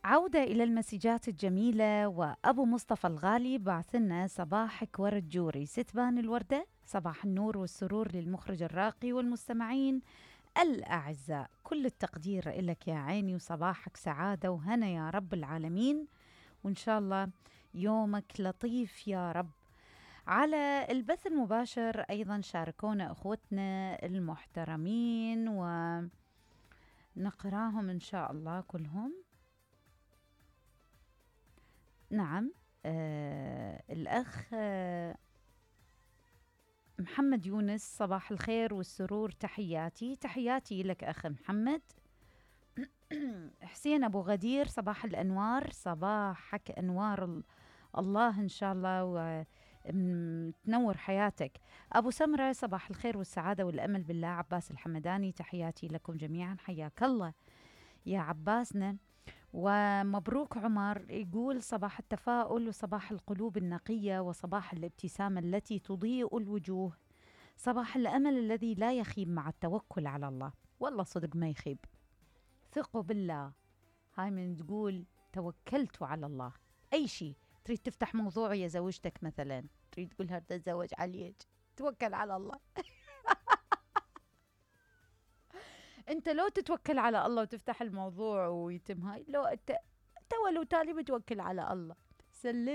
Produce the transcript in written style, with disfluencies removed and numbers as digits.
عودة إلى المسجات الجميلة. وأبو مصطفى الغالي بعثنا: صباحك ورد جوري ستبان الوردة. صباح النور والسرور للمخرج الراقي والمستمعين الأعزاء، كل التقدير لك يا عيني، وصباحك سعادة وهنا يا رب العالمين، وإن شاء الله يومك لطيف يا رب. على البث المباشر أيضا شاركونا أخوتنا المحترمين ونقراهم إن شاء الله كلهم. نعم، الأخ محمد يونس: صباح الخير والسرور، تحياتي لك أخ محمد. حسين أبو غدير: صباح الأنوار، صباحك أنوار الله إن شاء الله وتنور حياتك. أبو سمرة: صباح الخير والسعادة والأمل بالله. عباس الحمداني: تحياتي لكم جميعا، حياك الله يا عباسنا. ومبروك عمر يقول: صباح التفاؤل وصباح القلوب النقية وصباح الابتسامة التي تضيء الوجوه، صباح الأمل الذي لا يخيب مع التوكل على الله. والله صدق ما يخيب، ثقوا بالله. هاي من تقول توكلت على الله، أي شيء تريد تفتح موضوع يا زوجتك مثلا، تريد تقول هذا تزوج عليك، توكل على الله. انت لو تتوكل على الله وتفتح الموضوع ويتم هاي، لو انت ولو تالي بتوكل على الله، سلم.